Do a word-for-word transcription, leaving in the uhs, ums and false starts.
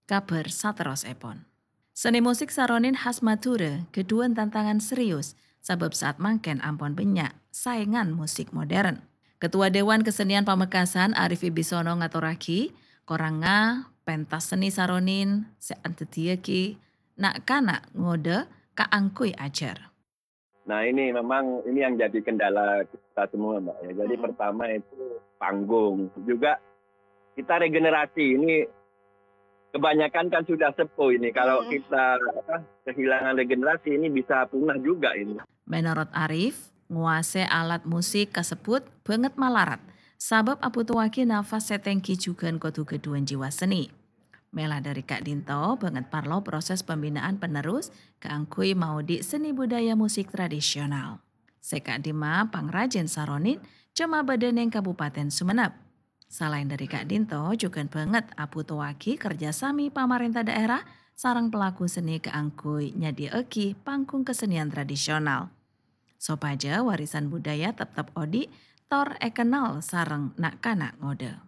Kabhâr saterrossèpon. Seni musik saronin khas Madhurâ ghâdhuwân tantangan serius, sabâb saat mangkèn ampon bânnya' saèngan musik modern. Ketua Dewan Kesenian Pamekasan Arif Wibisono ngatorraghi, korangnga pentas seni saronin sè adhâddhiyâghi na'-kana' ngodâ kaangghuy ajhâr. Nah, ini memang, ini yang jadi kendala kita semua, Mbak, ya. Jadi, hmm, pertama itu panggung. Juga kita regenerasi ini kebanyakan kan sudah sepuh ini. Kalau, hmm, kita, apa, kehilangan regenerasi, ini bisa punah juga ini. Menurut Arif, nguasè alat musik kasebbhut bângèt malarat, sabâb abhutoaghi nafas sè tèngghi jhughân kodhu ghâdhuwân jiwa seni. Mèla dhâri ka'dinto, bângèt parlo proses pembinaan penerus kaangghuy maodi' seni budaya musik tradisional. Sè ka'dimma pangrajin saronin coma bâdâ neng Kabupaten Sumenep. Salaèn dhâri ka'dinto, jhughân bângèt abhutoaghi kerja sami pamarènta dhaèra sareng pelaku seni kaangghuy nyadhiyâaghi panggung kesenian tradisional, sopajâ warisan budaya teptep odi' tor èkennal sareng na'-kana' ngodâ.